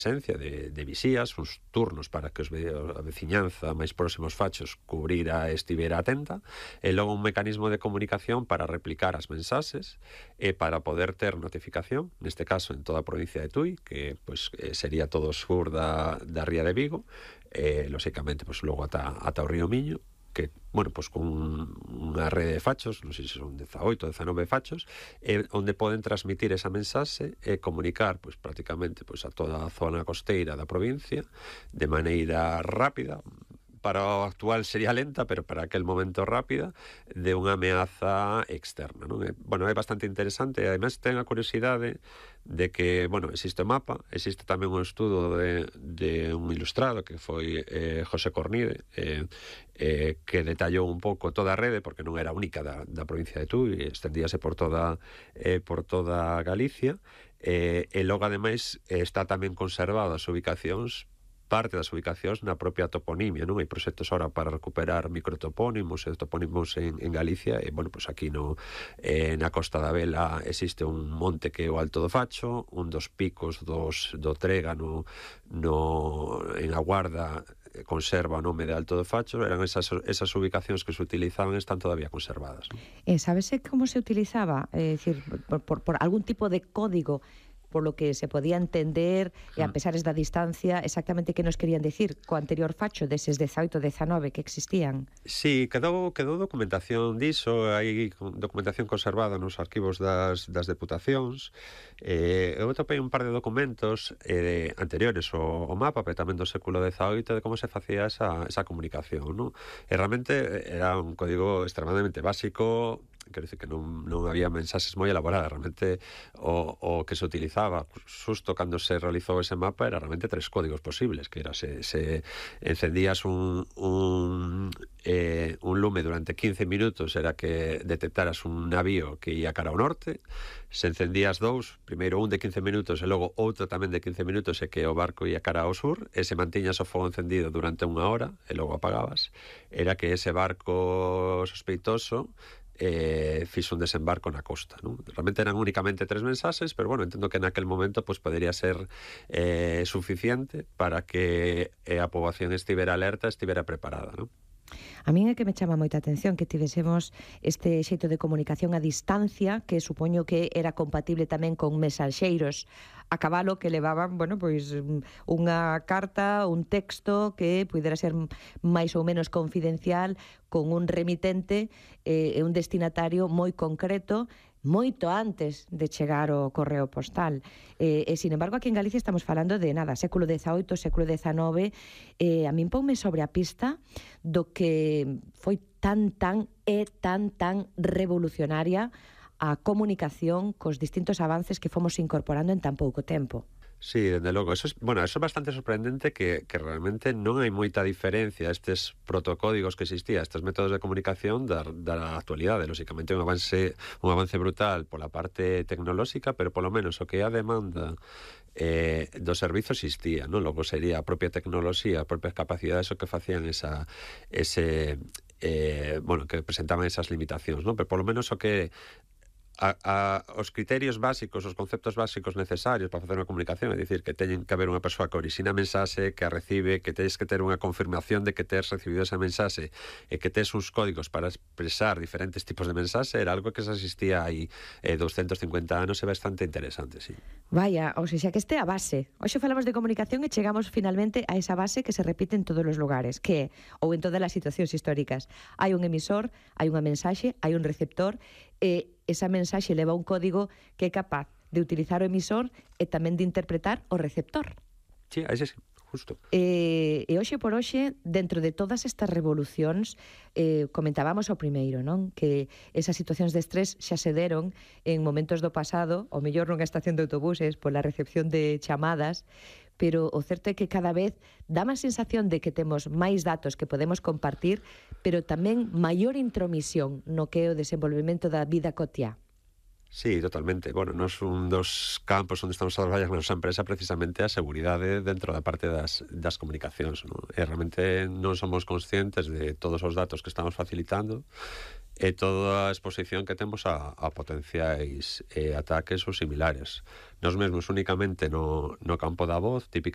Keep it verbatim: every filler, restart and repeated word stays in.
presencia de, de visías, uns turnos para que os ve, a veciñanza máis próximos fachos cubrira e estivera atenta, e logo un mecanismo de comunicación para replicar as mensaxes e para poder ter notificación, neste caso en toda a provincia de Tui, que pues, eh, sería todo o sur da, da ría de Vigo, e, lóxicamente, pues, logo ata, ata o río Miño, que, bueno, pues con unha rede de fachos, non sei se son dezaoito, dezanove fachos, eh, onde poden transmitir esa mensaxe e comunicar, pues, prácticamente pues, a toda a zona costeira da provincia de maneira rápida. Para o actual sería lenta, pero para aquel momento rápida, de unha ameaza externa, non? E, bueno, é bastante interesante, e ademais ten a curiosidade de que, bueno, existe o mapa, existe tamén un estudo de, de un ilustrado que foi eh, José Cornide, eh, eh, que detallou un pouco toda a rede, porque non era única da, da provincia de Tui, extendíase por toda, eh, por toda Galicia, eh, e logo, ademais, está tamén conservado as ubicacións, parte das ubicacións na propia toponimia, non? Hai proxectos ahora para recuperar microtopónimos e topónimos en, en Galicia, e, bueno, pues aquí no, eh, na Costa da Vela existe un monte que é o Alto do Facho, un dos picos dos, do Trégano no, en A Guarda conserva o nome de Alto do Facho, eran esas, esas ubicacións que se utilizaban e están todavía conservadas, non? E sabese como se utilizaba? É dicir, por, por, por algún tipo de código por lo que se podía entender, e a pesares da distancia, exactamente que nos querían decir co anterior facho deses dezaoito, dezanove que existían? Sí, quedou, quedou documentación diso, hai documentación conservada nos arquivos das, das deputacións. Eh, eu topei un par de documentos eh, anteriores ao, ao mapa, pero tamén do século dezaoito, de como se facía esa, esa comunicación, non? E realmente era un código extremadamente básico, quero dicir que non, non había mensaxes moi elaboradas, realmente o, o que se utilizaba xusto cando se realizou ese mapa era realmente tres códigos posibles, que era se, se encendías un, un, eh, un lume durante quince minutos, era que detectaras un navío que ia cara ao norte, se encendías dous, primeiro un de quince minutos e logo outro tamén de quince minutos, e que o barco ia cara ao sur, e se mantiñas o fogo encendido durante unha hora e logo apagabas, era que ese barco sospeitoso eh, fixo un desembarco na costa, non? Realmente eran únicamente tres mensaxes, pero bueno, entendo que naquel momento pues, podería ser eh, suficiente para que eh, a poboación estivera alerta, estivera preparada, non? A min é que me chama moita atención que tivésemos este xeito de comunicación a distancia, que supoño que era compatible tamén con mensaxeiros a cabalo que levaban, bueno, pois unha carta, un texto que pudera ser máis ou menos confidencial, con un remitente e eh, un destinatario moi concreto, moito antes de chegar o correo postal. Eh, e, sin embargo, aquí en Galicia estamos falando de nada, século dezaoito, século dezanove, eh, a min ponme sobre a pista do que foi tan, tan e tan, tan revolucionaria a comunicación cos distintos avances que fomos incorporando en tan pouco tempo. Sí, dende logo, eso es, bueno, eso é bastante sorprendente que, que realmente non hai moita diferencia estes protocódigos que existían, estes métodos de comunicación da, da actualidade, lóxicamente un avance un avance brutal pola parte tecnolóxica, pero polo menos o que é a demanda eh, do servizo existía, non? Logo sería a propia tecnoloxía, as propias capacidades o que facían esa ese eh, bueno, que presentaban esas limitacións, non? Pero polo menos o que A, a, os criterios básicos, os conceptos básicos necesarios para facer unha comunicación, é dicir, que teñen que haber unha persoa que orixina a mensaxe, que a recibe, que teñes que ter unha confirmación de que tes recibido esa mensaxe e que tes uns códigos para expresar diferentes tipos de mensaxe, era algo que se existía aí eh, doscientos cincuenta anos, é bastante interesante, sí. Vaya, ou seja, que este é a base. Hoxe falamos de comunicación e chegamos finalmente a esa base que se repite en todos os lugares, que, ou en todas as situacións históricas, hai un emisor, hai unha mensaxe, hai un receptor, e esa mensaxe leva un código que é capaz de utilizar o emisor e tamén de interpretar o receptor. Sí, ese sí, justo. E, e hoxe por hoxe, dentro de todas estas revolucións, eh, comentábamos o primeiro, non? Que esas situacións de estrés xa se deron en momentos do pasado, o mellor nunha estación de autobuses, pola recepción de chamadas, pero o certo é que cada vez dá máis sensación de que temos máis datos que podemos compartir, pero tamén maior intromisión no que é o desenvolvemento da vida cotiá. Sí, totalmente. Bueno, nos un dos campos onde estamos a traballar na nosa empresa precisamente a seguridade dentro da parte das, das comunicacións, non? E realmente non somos conscientes de todos os datos que estamos facilitando e toda a exposición que temos a, a potenciais eh, ataques ou similares. Nos mesmos únicamente no, no campo da voz, típica